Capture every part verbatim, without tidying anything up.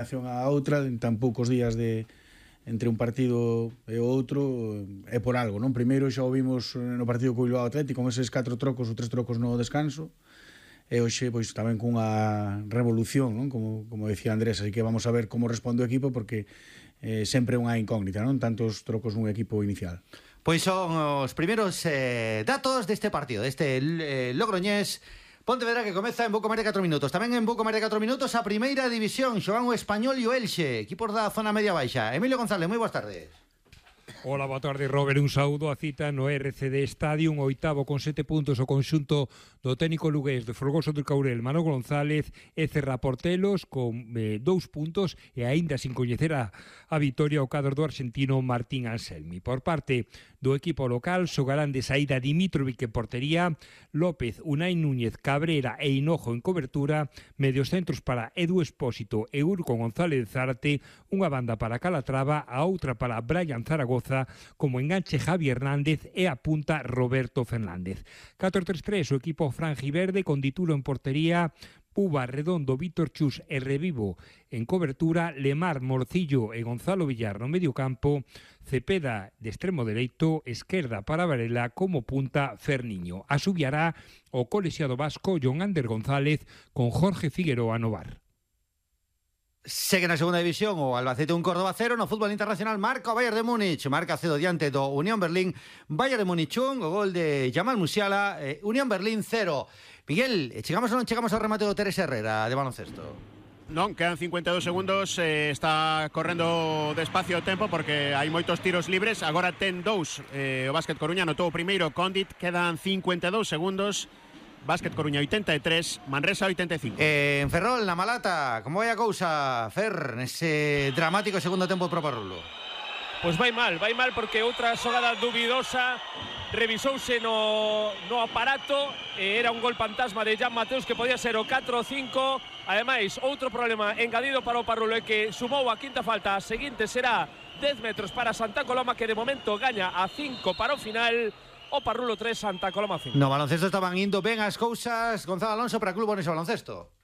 a outra en tan poucos días de entre un partido e outro é por algo, non? Primeiro xa o vimos no partido co Bilbao Atlético con eses catro trocos ou tres trocos no descanso e hoxe pois tamén cunha revolución, non? Como, como decía Andrés, así que vamos a ver como responde o equipo porque eh, sempre é unha incógnita, non? Tantos trocos nun equipo inicial. Pois son os primeiros eh, datos deste partido, deste eh, Logroñés Pontevedra, que comeza en pouco máis de catro minutos. Tamén en pouco máis de catro minutos a primeira división, xogan o Español e o Elxe, equipos da zona media baixa. Emilio González, moi boas tardes. Hola, boa tarde, Robert. Un saúdo a cita no R C D Stadium, oitavo con sete puntos o conxunto do técnico lugués de Folgoso do Caurel, Manolo González, e cerra Portelos con eh, dous puntos e aínda sin coñecer a, a vitoria o cadro do argentino Martín Anselmi. Por parte do equipo local, xogarán de saída Dimitrovic en portería, López, Unai Núñez, Cabrera e Hinojo en cobertura, medios centros para Edu Espósito e Urco González Zárate, unha banda para Calatrava, a outra para Brian Zaragoza, como enganche Javi Hernández e a punta Roberto Fernández. catro tres tres, o equipo franjiverde con Ditulo en portería, Uva, Redondo, Víctor Chus e Revivo en cobertura, Lemar, Morcillo e Gonzalo Villar no medio campo, Cepeda de extremo dereito, esquerda para Varela, como punta Ferniño. Asubiará o colexiado vasco John Ander González con Jorge Figueroa no bar. Segue na segunda división o Albacete un Córdoba cero. No fútbol internacional marca o Bayern de Múnich, marca cedo diante do Unión Berlín. Bayern de Múnich un, o gol de Jamal Musiala, eh, Unión Berlín cero. Miguel, chegamos ou non chegamos ao remate do Teres Herrera de baloncesto? Non, quedan cincuenta e dous segundos, eh, está correndo despacio o tempo porque hai moitos tiros libres. Agora ten dous eh, o Básquet Coruña, anotou o primeiro Condit, quedan cincuenta e dous segundos. Básquet Coruña oitenta e tres, Manresa oitenta e cinco. Eh, en Ferrol, na Malata, como vai a cousa, Fer, nese dramático segundo tempo de Pro Parrulo? Pois vai mal, vai mal porque outra xogada dubidosa revisouse no, no aparato e era un gol fantasma de Jan Mateus que podía ser o catro cinco. Ademais, outro problema engadido para o Parrulo é que sumou a quinta falta, a seguinte será dez metros para Santa Coloma, que de momento gaña a cinco para o final. O Parrulo tres, Santa Coloma cinco. No baloncesto estaban indo ben as cousas, Gonzalo Alonso, para Club Orense Baloncesto.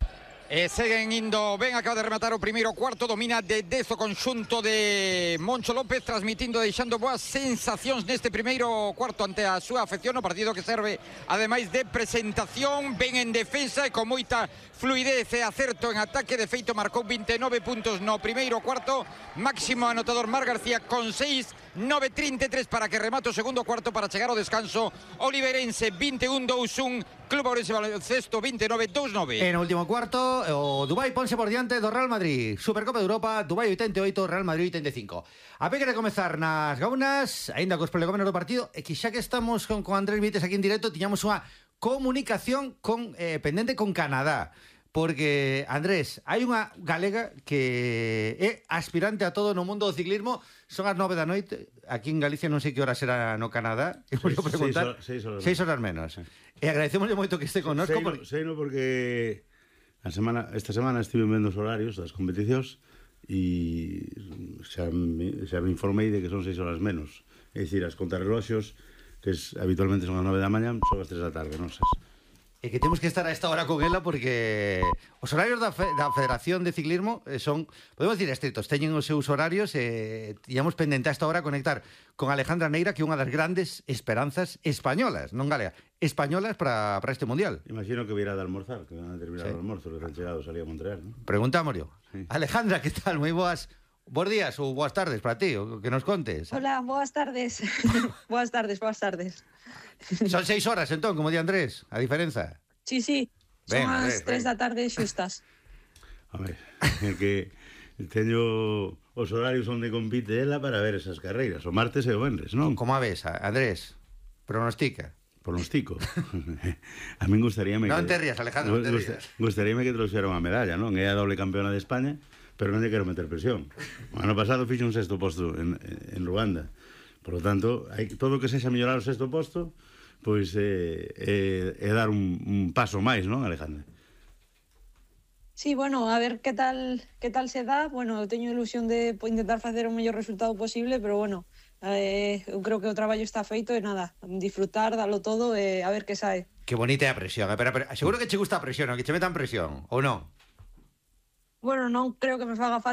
E seguen indo ben, acaba de rematar o primeiro cuarto, domina de dez o conxunto de Moncho López, transmitindo, deixando boas sensacións neste primeiro cuarto ante a súa afección, o partido que serve ademais de presentación, ben en defensa e con moita fluidez e acerto en ataque. De feito marcou vinte e nove puntos no primeiro cuarto, máximo anotador Mar García con seis, nove trinta e tres para que remate o segundo cuarto para chegar ao descanso. Oliverense vinte e un dous un, Club Orense Baloncesto vinte e nove dous nove. En o último cuarto, o Dubái ponse por diante do Real Madrid. Supercopa de Europa, Dubái oitenta e oito, Real Madrid oitenta e cinco. A peque de comezar nas gaunas, aínda cos prolegómenos do partido, e que xa que estamos con, con Andrés Vites aquí en directo, tiñamos unha comunicación con eh, pendente con Canadá. Porque, Andrés, hai unha galega que é aspirante a todo no mundo do ciclismo. Son as nove da noite. Aquí en Galicia non sei que hora será no Canadá. E vou preguntar. Seis, seis, horas, seis horas menos. Sí. E agradecemoslle moito que este connosco. Sei, porque... sei no porque a semana, esta semana estive vendo os horarios das competicións e xa me, xa me informei de que son seis horas menos. É dicir, as contrarreloxos, que es, habitualmente son as nove da mañá, son as tres da tarde, non sei. E que temos que estar a esta hora con ela porque os horarios da, fe, da Federación de Ciclismo son, podemos decir, estritos, teñen os seus horarios e tiñamos pendente a esta hora conectar con Alejandra Neira, que é unha das grandes esperanzas españolas, non galega, españolas para, para este Mundial. Imagino que virá de almorzar, que van a terminar sí. o almorzo, que han chegado, salía a Montreal, ¿no? Preguntámoslo. Sí. Alejandra, que tal? Moi boas... Bos días ou boas tardes para ti, o que nos contes. Hola, boas tardes. Boas tardes, boas tardes. Son seis horas, entón, como di Andrés, a diferenza. Sí, sí, son ven, as tres da tarde xustas. A ver, é que teño os horarios onde compite ela para ver esas carreiras, o martes e o venres, non? Como a ves, Andrés? Pronostica. Pronostico. A min gustaríame non que... Non te rías, Alejandro, non te rías. Gustaríame que trouxera unha medalla, non? É a doble campeona de España, pero non lle quero meter presión. O ano pasado fixo un sexto posto en, en Ruanda. Por lo tanto, hai, todo o que sexa mellorar o sexto posto, pois é, é, é dar un, un paso máis, non, Alejandra? Sí, bueno, a ver que tal que tal se dá. Bueno, teño ilusión de intentar facer o mellor resultado posible, pero bueno, eh, eu creo que o traballo está feito e nada, disfrutar, dalo todo e a ver que sae. Que bonita é a presión, eh? pero, pero seguro que che gusta a presión, que che metan presión, ou non? Bueno, non creo que me faga falta